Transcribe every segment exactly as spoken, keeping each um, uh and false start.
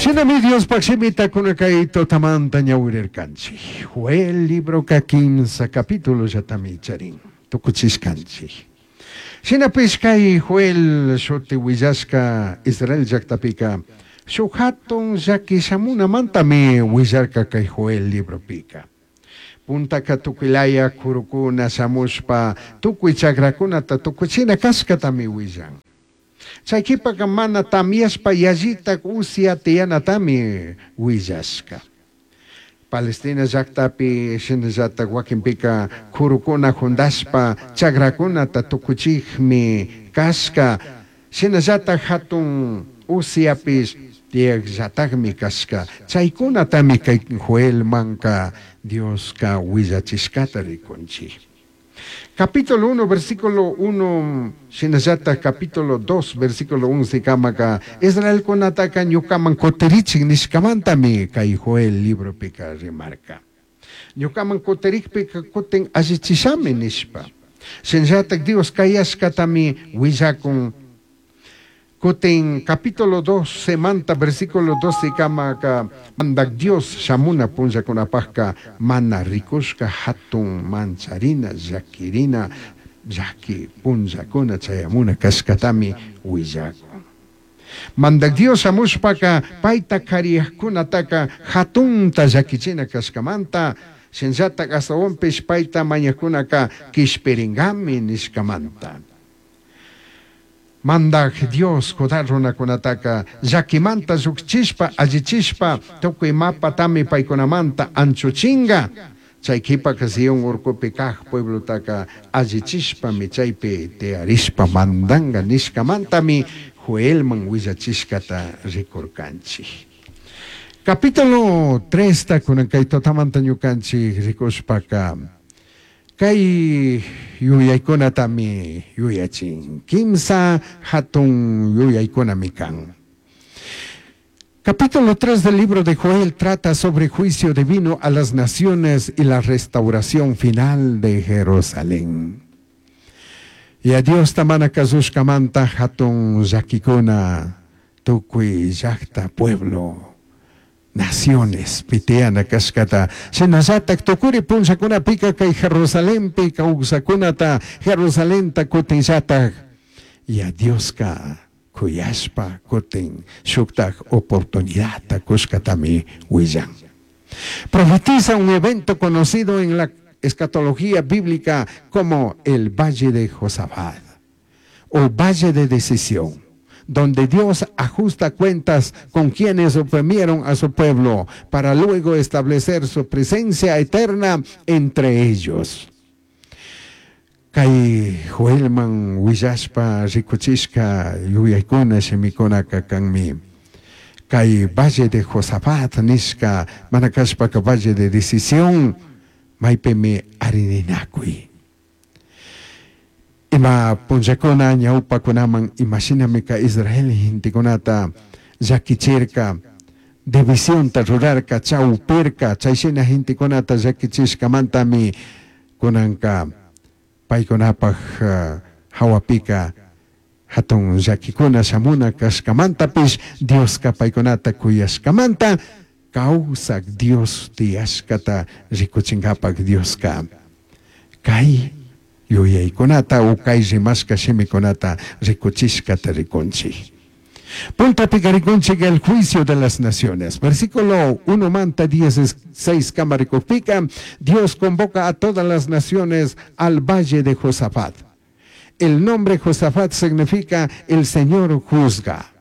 Shinami Diospaj shimita kay tutamanta ñawirirkanchik. Joel libroka kimsa capítulo llatami charin. Tukuchishkanchik. Shinapish kay Joel shuti willashka Israel llaqtapika shuk hatun llaki shamunamantami willarka kay Joel libropika. Puntaka tukuylaya kurukuna shamushpa tukuy chakrakunata tukuchina kashkatami willan. Chay qhipaka mana tamyashpa yallitak usya tiyanatami willashka. Palestina llaqtapi shinallatak wakinpika kurukuna juntashpa chakrakunata tukuchikmi kashka shinallatak hatun usyapish tiyakllatakmi kashka chaykunatami kay Joelmanka Dioska willachishkata rikunchik. Capítulo uno, versículo uno, shinallatak capítulo dos, versículo once kamaka Israelkunataka ñukaman kutirichik nishkamantami kay Joel libropika rimarka. Ñukaman kutirikpika kutin allichishami nishpa. Shinallatak Dios kayashkatami willakun. Kutin capítulo dos manta versículo doce kamaka mandak Dios shamuna punllakunapajka mana rikushka hatun mancharina llakirina llaki punllakuna chayamuna kashkatami willakun. Mandak Dios shamushpaka payta kariyajkunataka hatunta llakichina kashkamanta shinallatak astawanpish payta mañajkunaka kishpiringami nishkamanta. Mandak Dios Judá runakunataka llakimanta llukchishpa allichishpa tukuy mapatami paykunamanta anchuchinga. Chay qhipaka Sion urkupi kaj pueblotaka allichishpami chaypi tiyarishpa mandanga nishkamantami Joelman willachishkata rikurkanchik. Capítulo tres ta kunan kay tutamanta ñukanchik rikushpaka kay yuyaykunatami yuyachin. Kimsa hatun yuyaykunami kan. Capítulo tres del libro de Joel trata sobre juicio divino a las naciones y la restauración final de Jerusalén. Y a Dios tamana kasushkamanta hatun llakikuna tukuy llaqta pueblo naciones pitiyana kashkata shinallatak tukuri punllakunapika kay Jerusalenpi kawsakunata Jerusalenta kutinllatak y a Dioska kuyashpa kutin shuktak oportunidadta kushkatami willan. Profetiza un evento conocido en la escatología bíblica como el Valle de Josafat o Valle de Decisión, donde Dios ajusta cuentas con quienes oprimieron a su pueblo para luego establecer su presencia eterna entre ellos. Kay Joelman willashpa rikuchishka yuyaykuna shimikunaka kanmi. Kay Valle de Josafat nishka mana kashpaka Valle de Decisión maypimi arininakuy. Ima punllakuna ñawpakunaman imashinami ka Israel gentekunata llakichirka divisionta rurarka chawpirka chayshina gentekunata llakichishkamantami kunanka paykunapaj uh, hawapika hatun llakikuna shamuna kashkamantapish Dioska paykunata kuyashkamanta kawsak Dios tiyashkata rikuchinkapak Dioska kay yuyaykunata o kay rimashka shimikunata rikuchishkata rikunchik. Puntapika rikunchik el juicio de las naciones. Versículo uno manta dieciséis kama rikukpika, Dios convoca a todas las naciones al valle de Josafat. El nombre Josafat significa el Señor juzga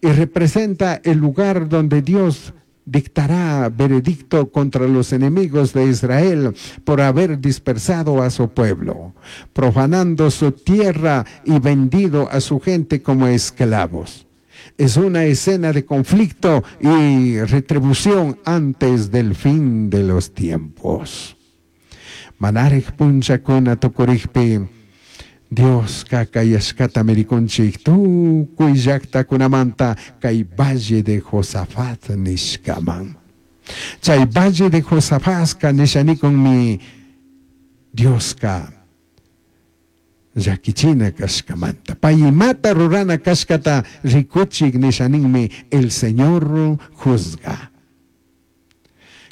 y representa el lugar donde Dios dictará veredicto contra los enemigos de Israel por haber dispersado a su pueblo, profanando su tierra y vendido a su gente como esclavos. Es una escena de conflicto y retribución antes del fin de los tiempos. Manarij punllakuna tukurikpi Dios kayashkata mirikunchik tukuy llaqtakunamanta kay Valle de Josafat nishkaman. Chay Valle de Josafatka nishanikunmi Dioska llakichina kashkamanta. Pay imata rurana kashkata rikuchik nishaninmi el Señor juzga.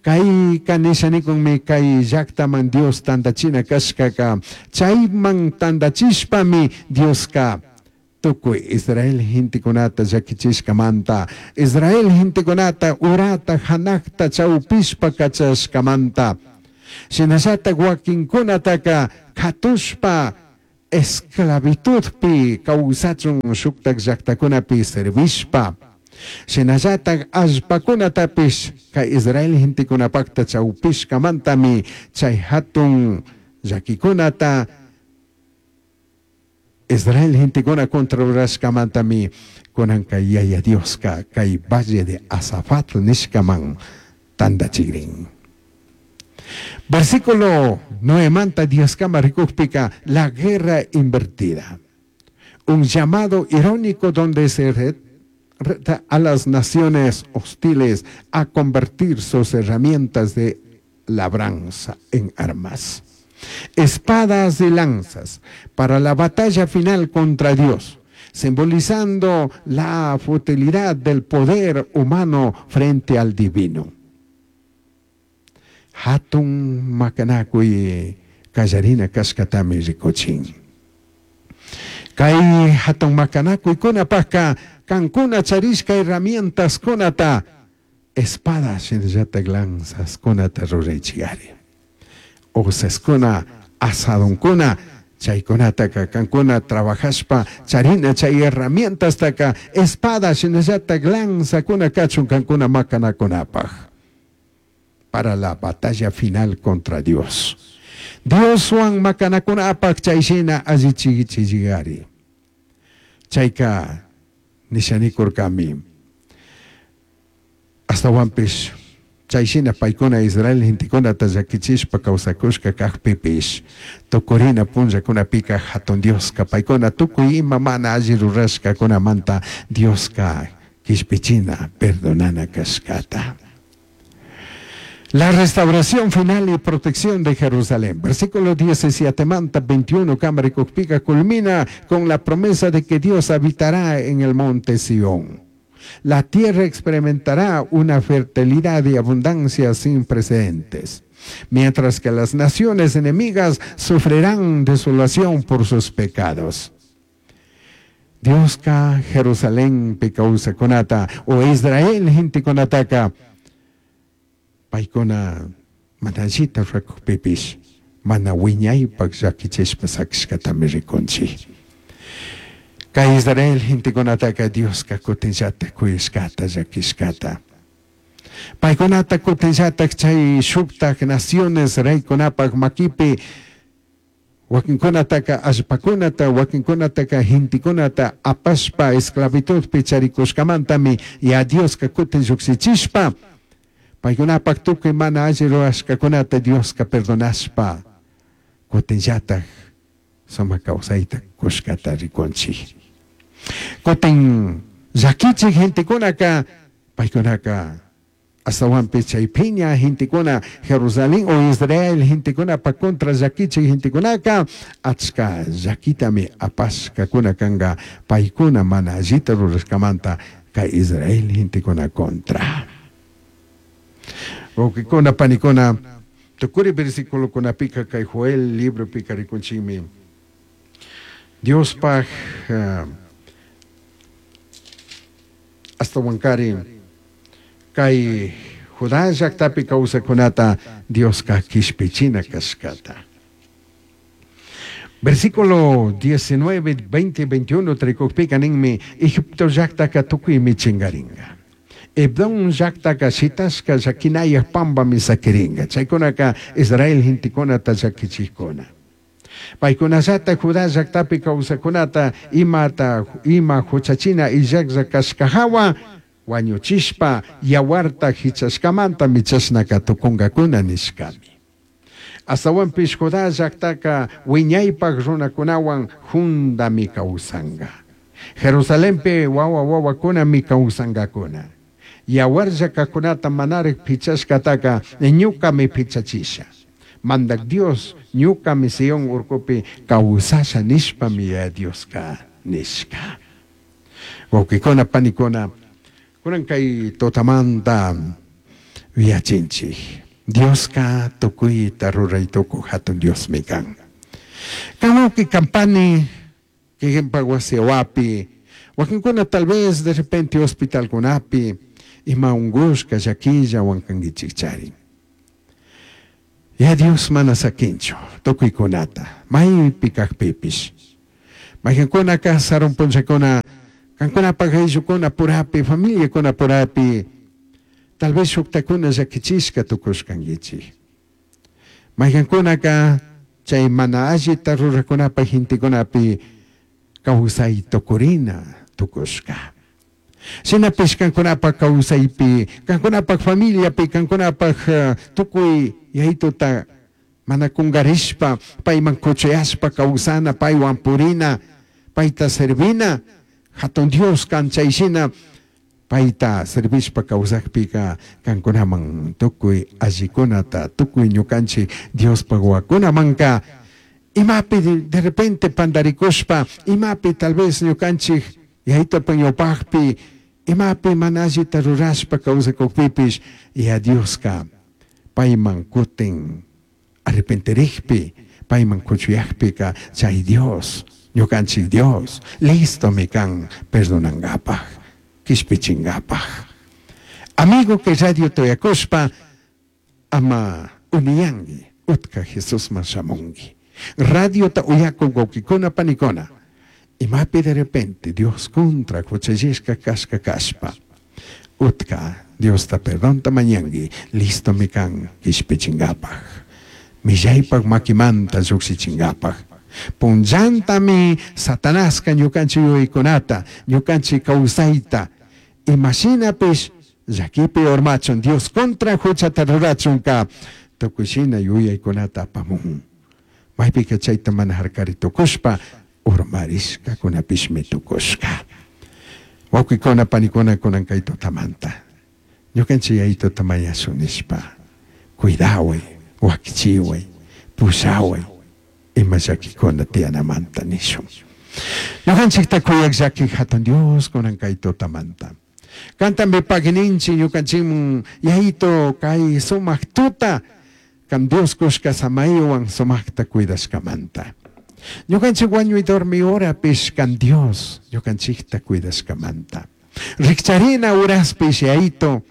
Kayka nishanikunmi kay llaktaman Dios tantachina kashkaka chayman tantachishpami Dioska tukuy Israel gentekunata llakichishkamanta, Israel gentekunata urata hanakta chawpishpa kachashkamanta, shinallatak wakinkunataka katushpa esclavitudpi kawsachun shuktak llaktakunapi servishpa, shinallatak allpakunatapish kay Israel gentekunapakta chawpishkamantami chay hatun llakikunata Israel gentekuna contra rurashkamantami kunanka Yaya Dioska kay valle de Azafat nishkaman tantachigrin. Versículo nuevemanta diezkama rikukpika, la guerra invertida. Un llamado irónico donde se reta a las naciones hostiles a convertir sus herramientas de labranza en armas, espadas y lanzas para la batalla final contra Dios, simbolizando la futilidad del poder humano frente al divino. Hatun makanakuy kallarina kashkatami rikuchin. Kay hatun makanakuykunapajka kankuna charishka herramientas kunata espadas shinallatak lanzas kunata ruraychigari. Hoceskuna, asadonkuna, chaykunataka kankuna trabajashpa charina chay herramientastaka espada shinallatak lanzakuna kachun kankuna makanakunapaj para la batalla final contra Dios. Dioswan makanakunapaj chayshina allichigichigari. Chayka nishanikurkami. Astawanpish chayshina paykuna Israel gentekunata llakichishpa kawsakushka kajpipish tukurina punllakunapika hatun Dioska paykuna tukuy ima mana alli rurashkakunamanta Dioska kishpichina perdonana kashkata. La restauración final y protección de Jerusalén. Versículo diecisiete manta veintiuno, Cámara culmina con la promesa de que Dios habitará en el monte Sión. La tierra experimentará una fertilidad y abundancia sin precedentes, mientras que las naciones enemigas sufrirán desolación por sus pecados. Dioska Jerusalén pikawsakunata o Israel gentekunataka paykuna mana allita rukukpipish mana wiñaypak llakichishpa sakishkatami rikunchik. Kay Israel gentekunataka Dioska kutinllatak kuyashkata llakishkata. Paykunata kutinllatak chay shuktak naciones reykunapak makipi wakinkunataka allpakunata wakinkunataka gentekunata apashpa esclavitudpi charikushkamantami ya Dioska kutin llukshichishpa paykunapak tukuy mana alli rurashkakunata Dioska perdonashpa kutinllatak sumak kawsayta kushkata rikunchik. Kutin llakichik gentekunaka paykunaka astawanpi chay phiña gentekuna Jerusalén o Israel gentekunapa contra llakichik gentekunaka achka llakitami apashkakuna kanka paykuna mana allita rurashkamanta kay Israel gentekuna contra. Wawqikuna panikuna tukuri versículokunapika kay Joel libropika rikunchikmi Diospaj uh, astawankari kay Judá llaktapi kawsakunata Dioska kishpichina kashkata. Versículo diecinueve, veinte, veintiuno trikukpika ninmi Egipto llaktaka tukuymi chingaringa. Edom llaktaka shitashka llakinayaj pampami sakiringa. Chaykunaka Israel gentekunata llakichikuna. Paykunallata Judá llaktapi kawsakunata imata ima huchachina illaklla kashkahawa wañuchishpa yawarta hichashkamanta michashnaka tukunkakuna nishkami. Astawanpish Judá llaktaka wiñaypak runakunawan juntami kawsanka. Jerusalenpi wawa wawakunami kawsankakuna. Yawarlla kakunata manarik pichashkataka ñukami pichachisha. Mandac Dios ñucami Sion urcupi causasha nishpami Yaya Diosca nishca. Huauquicuna, panicuna, cunan kay tutamanta yachinchik. Diosca tucuita rurai tucuj jatun Diosmi kan. Kan wauqui kan pani, kikinpak wasi wapi, wakinkuna tal vez de repente hospitalkunapi ima ungushka llaquillawan kankichik charin. Ya Dios mana saquinchu tukuykunata maypi kajpipish. Mayqankunaka sarun punllakuna kankunapak ayllukuna purapi familiakuna purapi tal vez shuktakuna llakichishka tukushkankichik. Mayqankunaka chay mana allita rurakunapak gentekunapi kawsay tukurina tukushka. Shinapish kankunapak kawsaypi, kankunapak familiapi, kankunapak uh, tukuy yayituta mana kungarishpa, payman kuchayashpa kawsana, paywan purina, payta servina, hatun Dios kan chayshina payta servishpa kawsakpika kankunaman tukuy allikunata, tukuy ñukanchik Diospak wawakunamanka imapi de, de repente pandarikushpa, imapi tal vez ñukanchik yayitupak ñawpakpi, imapi mana allita rurashpa kawsakukpipish, ya Dioska payman kutin arrepentirikpi, payman kuchuyakpika chay Dios, ñukanchik Dios, listomi kan perdonankapaj, kishpichinkapaj. Amigo que radio toyakushpa, ama uniyanki, utka Jesusman shamunki. Radiota uyakuk wawkikuna panikuna, imapi de repente Dios contra huchallishka kashka kashpa, utka Diosta perdonta mañanki, listomi kan kishpichinkapaj. Millaypak makimanta llukshichinkapaj. Punllantami Satanaska ñukanchik yuyaykunata, ñukanchik kawsayta, imashinapish llakipi urmachun, Dios contra huchata rurachunka, tukuy shina yuyaykunata apamun. Maypika chayta mana harkari tukushpa, urmarishkakunapishmi tukushka. Wawqikuna, panikuna, kunan kay tutamanta. Ñukanchik yayituta mañashun nishpa, cuidaway, wakichiway, pushaway, ima llakikuna tiyanamanta nishun. Ñukanchikta kuyak llaki hatun Dios kunan kay tutamanta. Kantami pagui ninchik ñukanchikman yayito kay sumak tuta, kan Dios kushka samaywan sumakta cuidashkamanta. Ñukanchik wañuy dormi horapish kan Dios ñukanchikta cuidashkamanta. Rikcharina uraspish yayito,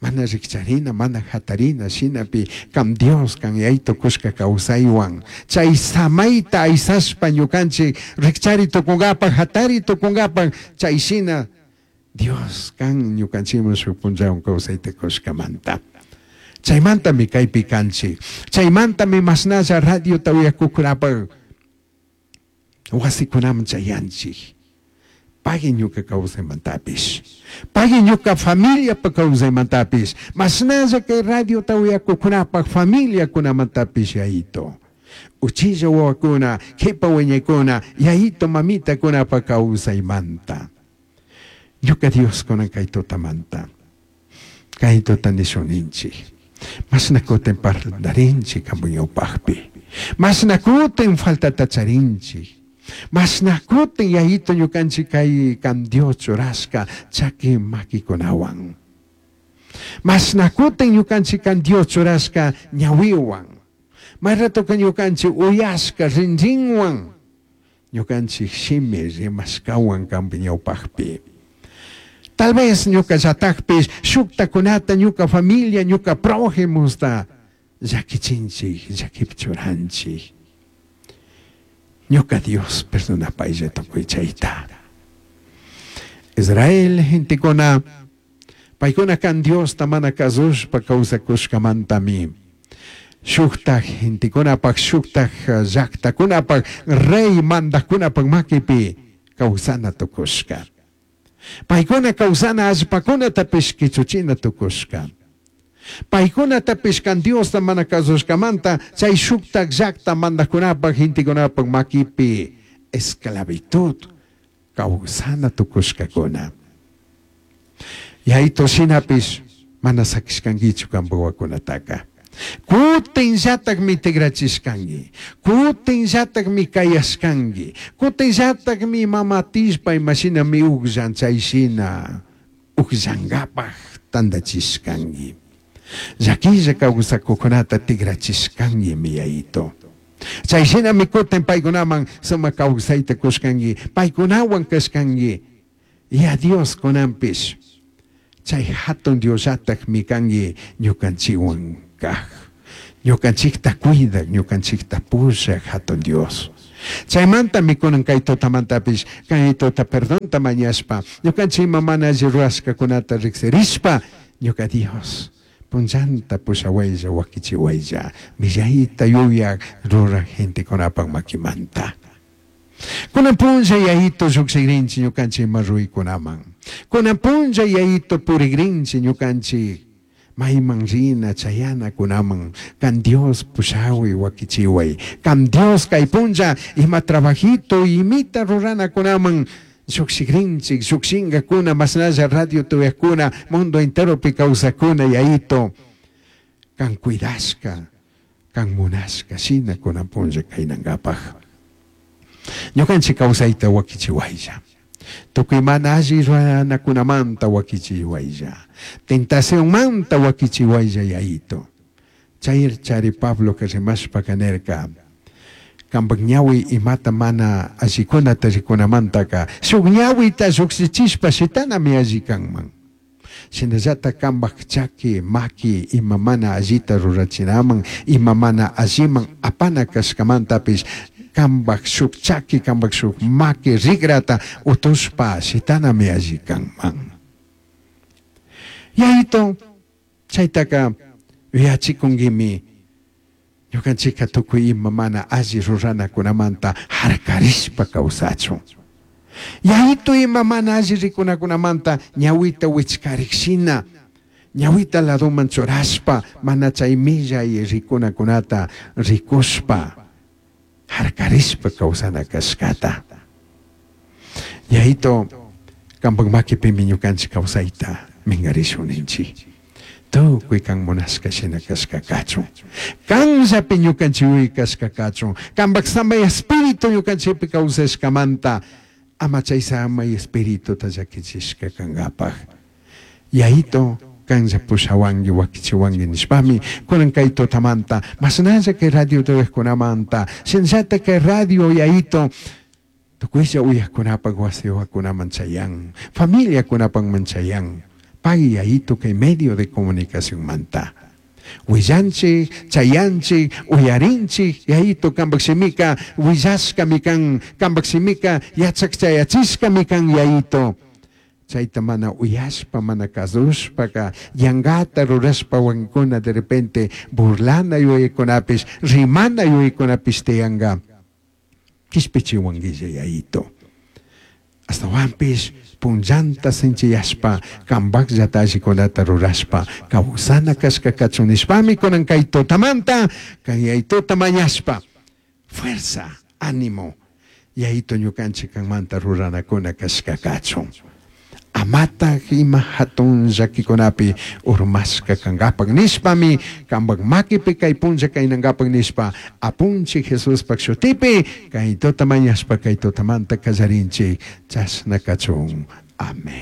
mana rikcharina, mana hatarina, shinapi kan Dios kan yayito kushka kawsaywan. Chay samayta aysashpa ñukanchik rikchari tukunkapak, hatari tukunkapak, chay shina Dios kan ñukanchikman shuk punllawan kawsayta kushkamanta. Chaymantami kaypi kanchik. Chaymantami mashnalla radiota uyakukunapak wasikunaman chayanchik. Pagui ñuka kawsaymantapish. Pagui ñuka familiapak kawsaymantapish. Mashnalla kay radiota uyakukunapak familiakunamantapish yayito. Uchilla wawakuna, kipa wiñaykuna, yayito mamitakunapak kawsaymanta. Ñuka Dios kunan kay tutamanta. Kay tuta nishuninchik. Mashna kutin parlarinchik kanpak ñawpakpi. Mashna kutin faltata charinchik. Mashna kutin yayito ñukanchik kay kan Dios churashka chaki makikunawan. Mashna kutin ñukanchik kan Dios churashka ñawiwan. May ratoka ñukanchik uyashka rinrinwan. Ñukanchik shimi rimashkawan kanpak ñawpakpi. Tal vez ñuka llatakpish shuktakunata ñuka familia, ñuka prójimusta llakichinchik, llakichuranchik. Ñuka Dios perdonapaylla tukuy chayta. Israel gentekuna, paykuna kan Diosta mana kasushpa kawsakushkamantami. Shuktak gentekunapak, shuktak llaktakunapak, rey mandakkunapak makipi kawsana tukushka. Paykuna kawsana allpakunatapish kichuchina tukushka. Paykunatapish kan Diosta mana kasushkamanta chay shuktak llakta mandakkunapak gentekunapak makipi esclavitud kawsana tukushkakuna. Yayito shinapish mana sakishkankichu kanpak wawakunataka. Kutinllatakmi tigrachishkanki, kutinllatakmi kayashkanki, kutinllatakmi mama tishpa imashinami ukllan chayshina ukllankapaj tantachishkanki. Llaquilla kawsakukunata tigrachishkankimi Yayito. Chayshinami kutin paykunaman sumak kawsayta kushkanki, paykunawan kashkanki. Ya Dios kunanpish chay hatun Diosllatakmi kanki ñukanchikwan kaj. Ñukanchikta cuidak, ñukanchikta pushak hatun Dios. Chaymantami kunan kay tutamantapish kay tuta perdonta mañashpa ñukanchik ima mana alli rurashkakunata riksirishpa ñuka Dios punllanta pushawaylla wakichiwaylla millayta yuyak ruraj gentekunapak makimanta. Kunan punlla Yayito llukshikrinchik ñukanchik ima ruykunaman. Kunan punlla Yayito purikrinchik ñukanchik mayman rina chayanakunaman kan Dios pushawi wakichiway. Kan Dios kay punlla ima trabajito imita ruranakunaman llukshikrinchik llukshinkakuna mashnalla radio tuyakuna mundo enteropi kawsakuna Yayito kan cuidashka kan munashka shina kunan punlla kaynankapaj. Ñukanchik kawsayta wakichiwaylla. Tukuy mana alli ruranakunamanta wakichiwaylla. Tentacionmanta wakichiwaylla Yayito. Chay chari Pablo que rimashpa nirka kampak ñawi imata mana allikunata rikunamantaka shuk ñawita llukshichishpa shitanami alli kanman. Shinallata kampak chaki maki ima mana allita rurachinaman ima mana alliman apana kashkamantapish kampak shuk chaki kampak shuk maki rigrata utushpa shitanami alli kanman. Yayito chaytaka yuyachikunkimi ñukanchikka tukuy ima mana alli ruranakunamanta harkarishpa kawsachun. Yayito ima mana alli rikunakunamanta ñawita wichkarikshina ñawita ladoman churashpa mana chay millay rikunakunata rikushpa harkarishpa kawsana kashkata. Yayito kampak makipimi ñukanchik kawsayta minkarishun ninchik. Tukuy kan munashka shina kashka kachun. Kanllapi ñukanchik kashka kachun. Kampak samay espíritu ñukanchikpi kawsashkamanta ama chay samay espírituta llakichishka kankapaj. Yayito kanlla pushawanki wakichiwanki nishpami kunan kay tutamanta mashnalla kay radio tuyakkunamanta shinallata kay radio Yayito tukuylla uyakkunapak wasiwakunaman chayan familiakunapak chayan pay Yayito kay medio de comunicación manta. Willanchik, chayanchik, uyarinchik, Yayito kampak shimika, willashkami kan, kampak shimika, yachak chayachishkami kan Yayito. Chayta mana uyashpa, mana kasushpaka, yankata rurashpa wankuna de repente burlana yuyaykunapish, rimana yuyaykunapish tiyanka. Kishpichiwankilla Yayito. Astawanpish punllanta sinchiyashpa, kampakllata allikunata rurashpa, kawsana kashka kachun nishpami kunan kay tutamanta, kay Yayituta mañashpa, fuerza, ánimo, Yayito ñukanchik kanmanta ruranakuna kashka kachun. Amata ima hatun llakikunapi urmashka kankapak nishpami, kampak makipi kay punlla kaynankapak nishpa, apunchik Jesuspak shutipi, kay tuta mañashpa kay tutamanta kallarinchik, chashna kachun. Amén.